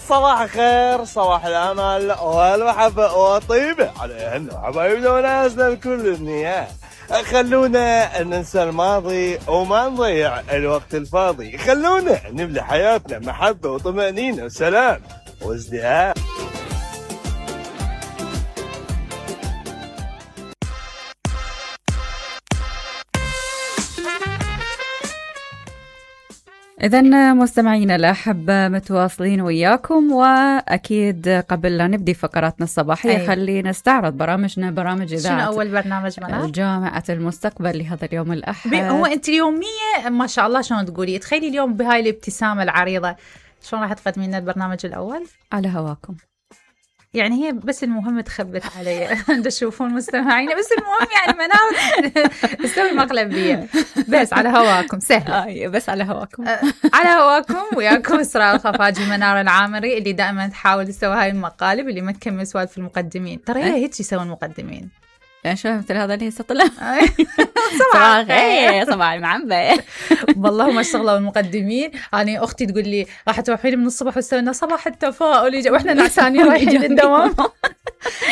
صباح الخير، صباح الامل والمحبه والطيبه عليهن حبايبنا وناسنا بكل النيات. خلونا ننسى الماضي وما نضيع الوقت الفاضي، خلونا نملي حياتنا محبه وطمانينه وسلام وازدهار. إذن مستمعينا الأحبة متواصلين وياكم، وأكيد قبل لا نبدي فقراتنا الصباحية خلينا نستعرض برامجنا. برامج إذاعة شنو أول برنامج منار؟ جامعة المستقبل لهذا اليوم الأحد. هو أنت اليومية ما شاء الله شلون تقولي، تخيلي اليوم بهاي الابتسامة العريضة شلون راح تقدمي لنا البرنامج الأول؟ على هواكم. يعني هي بس المهم تخبت علي تشوفون مستمعين، بس المهم يعني منار تسوي مقلب بيه. بس على هواكم سهلة. بس على هواكم. على هواكم وياكم إسراء الخفاجي منار العامري اللي دائما تحاول تسوي هاي المقالب اللي ما تكمل سوالف المقدمين. ترى هي هيك يسوون المقدمين. يعني شو مثل هذا اللي هسه طلع صباح الخير صباح المعنبة. والله ما اشتغلوا المقدمين. أنا أختي تقول لي راح تروحين من الصبح وتسوينا صباح التفاؤل وإحنا نعسانين رايحين الدوام.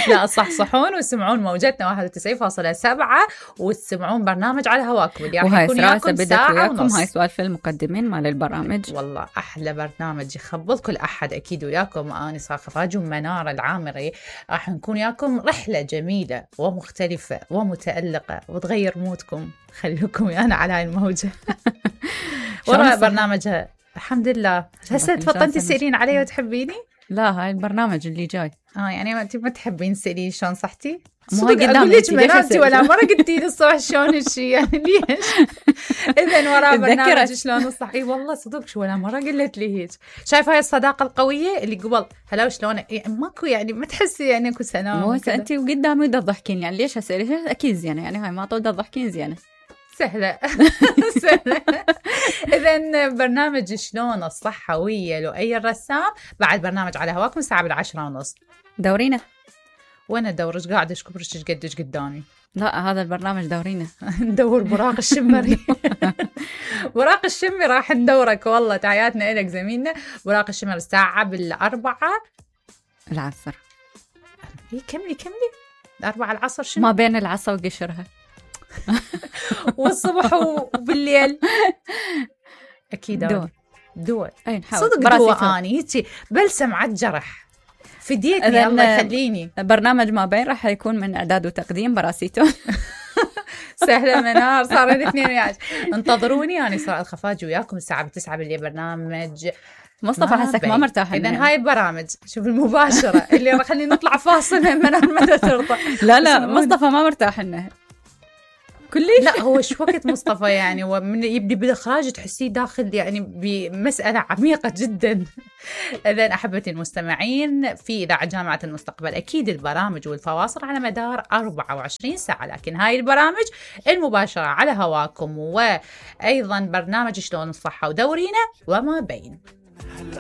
لا صحصحون وسمعون موجتنا 91.7 وتسمعون برنامج على هواكم اللي راح يكون وياكم ساعة ونص. هاي سوالف المقدمين مال البرامج. والله أحلى برنامج يخبط كل أحد أكيد وياكم. أنا إسراء الخفاجي ومنار العامري راح نكون وياكم رحلة جميلة ومختلفة ومتألقة وتغير مودكم. خليكم ويانا على هاي الموجة. وراء برنامجها الحمد لله. هسه تفضلتي تسألين علي وتحبيني؟ لا هاي البرنامج اللي جاي. يعني انت ما تحبين تسألين شلون صحتي؟ مو قدام ليش منامتي ولا مرة قلتي لي الصبح شلون هالشي يعني ليش؟ إذن وراء برنامج شلون الصح. اي والله صدق شو ولا مرة قلت لي هيك. شايفة هاي الصداقة القوية اللي قبل هلا وشلون يعني ماكو يعني ما تحسي يعني اكو سلام. مو هسه انت وقدامي تضحكين يعني ليش هسه ليش اكيد زينة يعني هاي ما تضحكين زينة. سهلة سهلة. إذن برنامج شلون الصحة ويا لؤي الرسام بعد برنامج على هواكم الساعة 10:30. دورينا. وانا ادورش قاعده اشكبرش قدش قدامي. لا هذا البرنامج دورينا. ندور براق الشمري. براق الشمري راح ندورك والله. تحياتنا لك زميلنا براق الشمري الساعه 4 العصر. كملي 4 العصر. شنو ما بين العصا وقشرها. والصبح وبالليل اكيد دول. صدق دوا اني هيك بلسم على الجرح فديتني الله يخليني. برنامج ما بين راح يكون من إعداد وتقديم براسيتو. سهلة منار. صار الاثنين وياك. انتظروني أنا إسراء الخفاجي وياكم الساعة 9 بالليل. برنامج مصطفى حسك ما مرتاح. إذن هاي البرامج شوف المباشرة اللي راح خلينا نطلع فاصل من منار متى ترضى. لا مصطفى ما مرتاح إنه كلش. لا هو شو وقت مصطفى يعني ومن يبدي بالإخراج تحسيه داخل يعني بمسألة عميقة جدا. إذن أحبتي المستمعين في إذاعة جامعة المستقبل أكيد البرامج والفواصل على مدار 24 ساعة، لكن هاي البرامج المباشرة على هواكم وأيضا برنامج شلون الصحة ودورينا وما بين.